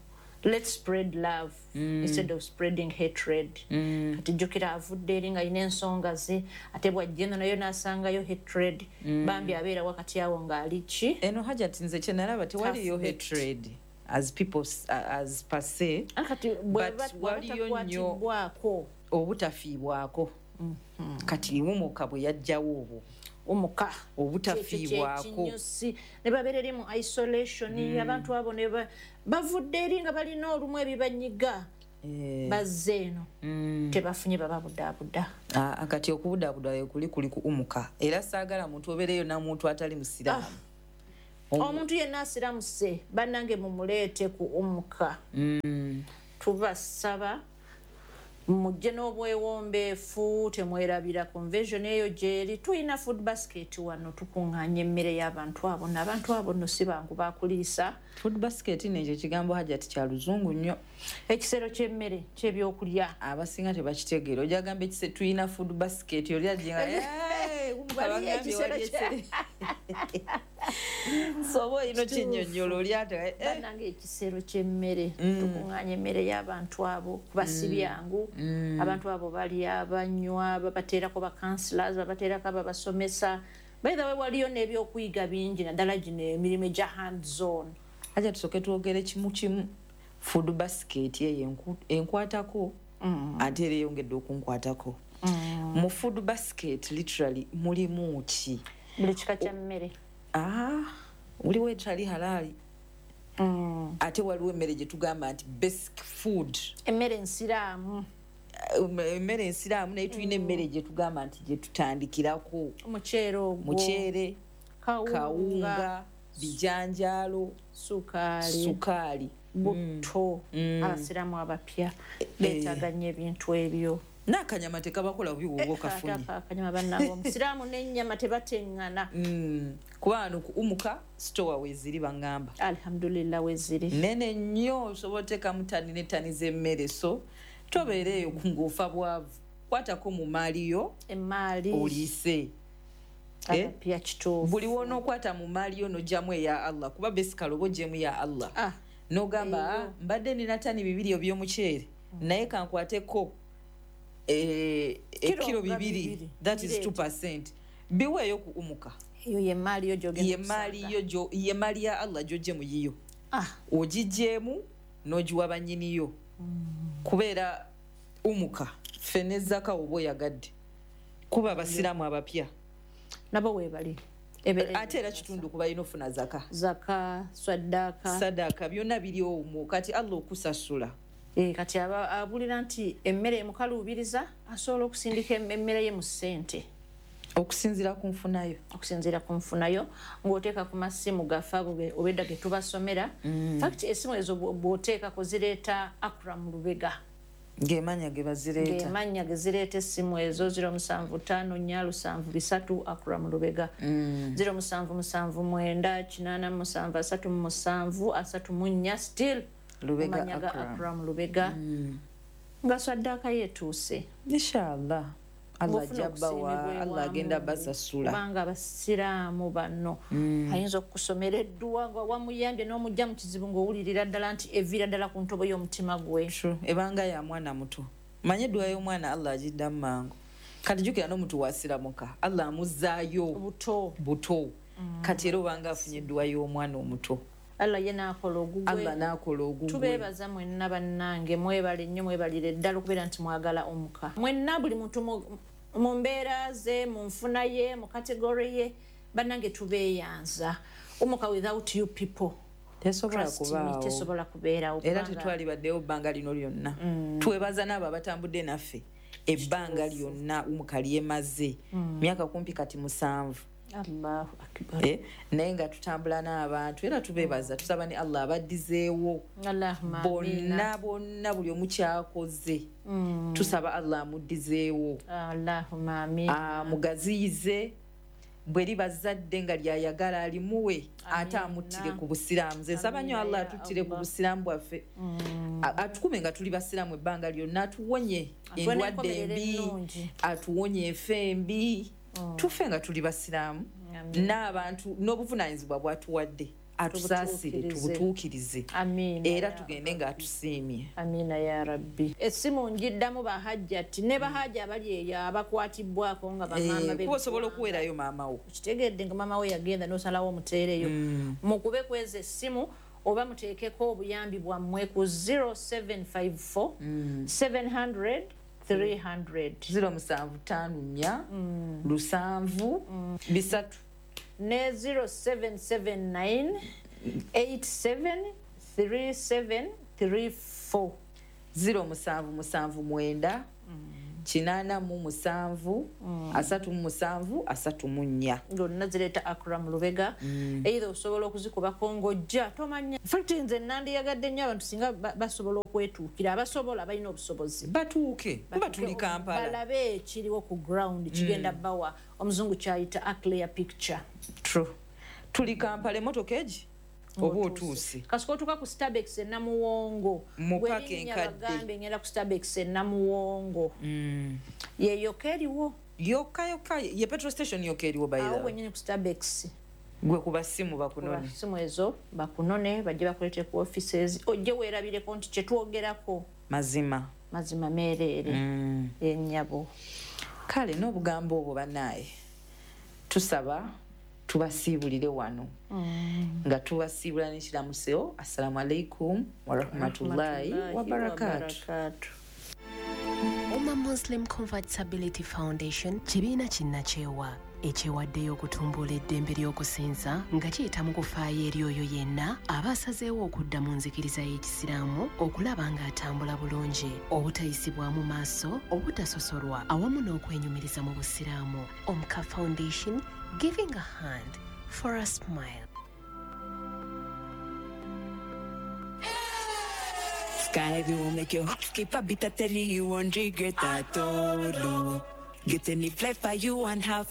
[SPEAKER 12] Let's spread love
[SPEAKER 11] mm.
[SPEAKER 12] instead of spreading hatred.
[SPEAKER 11] Mm.
[SPEAKER 12] Kati jjukira avudde eri nga alina ensonga ze, ate bw'ajja eno nayo n'asangayo hatred.
[SPEAKER 11] Mm.
[SPEAKER 12] Bambi abeera wakati awo ng'ali ki?
[SPEAKER 11] Eno Hajat nze kye nalaba tewaliyo hatred as people as per se.
[SPEAKER 12] Kati
[SPEAKER 11] but waliyo nnyo obutafiibwako.
[SPEAKER 12] Mm-hmm.
[SPEAKER 11] Kati umuka bwe yajjawo obwo
[SPEAKER 12] umuka
[SPEAKER 11] obutafiibwako
[SPEAKER 12] ne babeera eri mu isolation.
[SPEAKER 11] Mm.
[SPEAKER 12] Abantu abo ne bavudde eri nga balina olumu ebibanyiga
[SPEAKER 11] eh.
[SPEAKER 12] bazze eno
[SPEAKER 11] mm.
[SPEAKER 12] tebafunye bababudaabuda.
[SPEAKER 11] Ah, kati okubudaabuda kuli kuli ku umuka era saagala muntu obeereyo namuntu atali musiraamu.
[SPEAKER 12] Ah. Omuntu yenna asiramuse bannange mumuleete ku umuka.
[SPEAKER 11] Mm.
[SPEAKER 12] Tubasaba mujje n'obwewombeefu, temwerabira convention eyo gyeri. Tulina food basket wano, tukuŋŋaanya emmere y'abantu abo, n'abantu abo nno si bangu bakuliisa.
[SPEAKER 11] Food basket n'ekyo kigambo Hajat kya luzungu nnyo.
[SPEAKER 12] Ekisero ky'emmere ky'ebyokulya
[SPEAKER 11] abasinga tebakitegeera. Ojja gamba ekise tulina food basket oli ajja
[SPEAKER 12] nga ekisero
[SPEAKER 11] sobo ino kinnyonnyola oli ate
[SPEAKER 12] bannange ekisero ky'emmere tukuŋŋaanya emmere y'abantu abo kuba si byangu. Abantu abo balya, banywa, babateerako ba counselors, babateerako ababasomesa. By the way, waliyo n'ebyokuyiga bingi naddala gino emirimu egya hands on.
[SPEAKER 11] Hajja tusooke twogere kimu kimu. Food basket eyo enkwatako ate era eyongedde okunkwatako. Mu food basket literally mulimu ki?
[SPEAKER 12] Buli kika kya mmere.
[SPEAKER 11] Ah, muliwo etali halali. Mm. Ate waliwo emmere gye tugamba nti basic food,
[SPEAKER 12] emmere ensiraamu.
[SPEAKER 11] Emmere ensiraamu naye tulina emmere gye tugamba nti gye tutandikirako.
[SPEAKER 12] Omuceere ogwo,
[SPEAKER 11] muceere, kawunga, bijanjaalo,
[SPEAKER 12] sukaali,
[SPEAKER 11] sukaali,
[SPEAKER 12] butto.
[SPEAKER 11] Mm.
[SPEAKER 12] Abasiraamu abapya beetaaga nnyo ebintu ebyo.
[SPEAKER 11] N'akanyama tekabakola bubi bw'oba okafunye.
[SPEAKER 12] Akanyama bannange omusiraamu n'ennyama tebateŋŋana.
[SPEAKER 11] Kuba wano ku umuka store weeziri baŋŋamba.
[SPEAKER 12] Alhamdulillah weeziri.
[SPEAKER 11] Nene nnyo osobola oteekamu ttani ne ttani z'emmere, so tobeera eyo ng'ofa bwavu. Kwatako mu maali yo
[SPEAKER 12] emmaali
[SPEAKER 11] oliise.
[SPEAKER 12] Abapya kituufu.
[SPEAKER 11] Buli w'onookwata mu maali yo n'oggyamu eya Allah, kuba basically oba oggyemu ya Allah. N'ogamba mbadde nina ttani bibiri eby'omuceere naye kankwateko ekiro bibiri, that is two percent. Biweeyo ku umuka.
[SPEAKER 12] Eyo ye maali yo gy'ogenda
[SPEAKER 11] okusanga. Ye maali ya Allah gy'oggye mu yiyo. Ogiggyemu n'ogiwa bannyiniyo. Kubeera umuka ffe ne zaka oba oyagadde kuba abasiraamu abapya
[SPEAKER 12] nabo weebali.
[SPEAKER 11] Ate era kitundu kuba balina ofuna zaka,
[SPEAKER 12] zaka, saddaaka,
[SPEAKER 11] saddaaka byonna biri omwo. Kati Allah okusasula.
[SPEAKER 12] Kati abulira nti emmere emukaluubiriza asobola okusindika emmere ye mu ssente
[SPEAKER 11] okusinziira ku nfunayo.
[SPEAKER 12] Okusinziira ku nfunayo ng'oteeka ku masimu gaffe ago obedda ge tubasomera. Fact essimu ezo bw'oteekako zireeta Akram Lubega.
[SPEAKER 11] Ng'emanya ge bazireeta.
[SPEAKER 12] Ng'emanya ge zireeta essimu ezo zero musanvu ttaano nnya lusanvu bisatu Akram Lubega. Zero musanvu musanvu mwenda kinaana musanvu asatu musanvu asatu mu nnya still
[SPEAKER 11] Lubega
[SPEAKER 12] Akram. Akram Lubega. Nga saddaaka yeetuuse.
[SPEAKER 11] Inshallah. Allah ajja bawa, Allah agenda basasula.
[SPEAKER 12] Kubanga abasiraamu bano ayinza okukusomera edduwa nga wamuyambye n'omujja mu kizibu ng'owulirira ddala nti eviira ddala ku ntobo y'omutima gwe.
[SPEAKER 11] Ebanga ya mwana muto. Manye edduwa y'omwana Allah agiddamu mangu. Kati jjukira n'omuntu wasiramuka Allah amuzzaayo
[SPEAKER 12] buto.
[SPEAKER 11] Buto. Kati era obanga afunye edduwa y'omwana omuto.
[SPEAKER 12] Allah ye n'akola ogugwe.
[SPEAKER 11] Allah n'akola ogugwe.
[SPEAKER 12] Tubeebaza mwenna bannange, mwebale nnyo, mwebalire ddala okubeera nti mwagala omuka. Mwenna buli muntu mu mbeera ze, mu nfuna ye, mu kategori ye, bannange tubeeyanza. Omuka without you people
[SPEAKER 11] tesobola kubaawo.
[SPEAKER 12] Tesobola kubeerawo.
[SPEAKER 11] Era tetwalibaddewo bbanga lino lyonna. Twebaza n'abo abatambudde naffe ebbanga lyonna omuka lyemaze. Myaka kumpi kati musanvu.
[SPEAKER 12] Allahu akbar.
[SPEAKER 11] Eh, naye nga tutambula n'abantu era tubeebaza, tusaba ne Allah abaddizeewo.
[SPEAKER 12] Allahumma
[SPEAKER 11] bonna bonna buli omu kyakoze. Tusaba Allah amuddizeewo.
[SPEAKER 12] Allahumma amiina.
[SPEAKER 11] Amugaziyize bwe liba zadde nga lyayagala alimuwe ate amuttire ku busiraamu. Nze nsaba nnyo Allah atuttire ku busiraamu bwaffe. Atukume nga tuli basiraamu ebbanga lyonna, atuwonye endwadde embi, atuwonye enfa embi. Tufe nga tuli basiraamu n'abantu n'obuvunaanyizibwa bw'atuwadde. Atusaasire, tubutuukirize. Era tugende nga atusiimye.
[SPEAKER 12] Amiina ya Rabbi. Essimu njiddamu bahajjati ne bahajja abali eyo abakwatibwako nga bamaama be.
[SPEAKER 11] Kuba osobola okuweerayo maama wo.
[SPEAKER 12] Kitegedde nga maama we yagenda n'osalawo omuteereyo. Mukube kweza essimu oba muteekeko obuyambi bwammwe ku zero seven five four seven hundred three hundred.
[SPEAKER 11] Zero musanvu ttaano nnya lusanvu bisatu.
[SPEAKER 12] Ne zero seven seven nine eight seven three seven three four.
[SPEAKER 11] Zero musanvu musanvu mwenda kinaana mu musanvu asatu mu musanvu asatu mu nnya.
[SPEAKER 12] Zonna zireeta Akram Lubega. Either osobola okuzikubako ng'ojja tomanya. In fact nze nandiyagadde nnyo abantu singa basobola okwetuukira, abasobola balina obusobozi
[SPEAKER 11] batuuke kuba tuli Kampala,
[SPEAKER 12] balabe ekiriwo ku ground kigenda bawa omuzungu kyayita a clear picture.
[SPEAKER 11] True. Tuli Kampala, emmotoka egi oba otuuse.
[SPEAKER 12] Kasooka otuuka ku Starbucks e Namuwongo.
[SPEAKER 11] Mu paaka enkadde.
[SPEAKER 12] Bagambe ngenda ku Starbucks e Namuwongo. Ye yokka eriwo.
[SPEAKER 11] Yokka yokka ye petrol station yokka eriwo by the way.
[SPEAKER 12] Awo wennyini ku Starbucks.
[SPEAKER 11] Gwe kuba simu bakunone.
[SPEAKER 12] Kuba simu ezo bakunone bajje bakuleete ku offices. Ojje weerabireko nti kye twogerako.
[SPEAKER 11] Mazima.
[SPEAKER 12] Mazima meereere. Ennyabo.
[SPEAKER 11] Kale n'obugambo obwo bannaaye. Tusaba tubasiibulire wano. Nga tubasiibula n'ekiramuseo. Assalamu alaikum warahmatullahi wabarakatuh.
[SPEAKER 10] Umma Muslim Convertibility Foundation kibiina kinnakyewa ekyewaddeyo okutumbula eddembe ly'okusinza nga kiyita mu kufaayo eri oyo yenna aba asazeewo okudda mu nzikiriza y'Ekisiraamu okulaba ng'atambula bulungi, obutayisibwamu maaso, obutasosolwa awamu n'okwenyumiriza mu Busiraamu. Omka Foundation, giving a hand for a smile.
[SPEAKER 21] Sky will make your heart skip a bit at you won't regret at all. Get any flight for you and have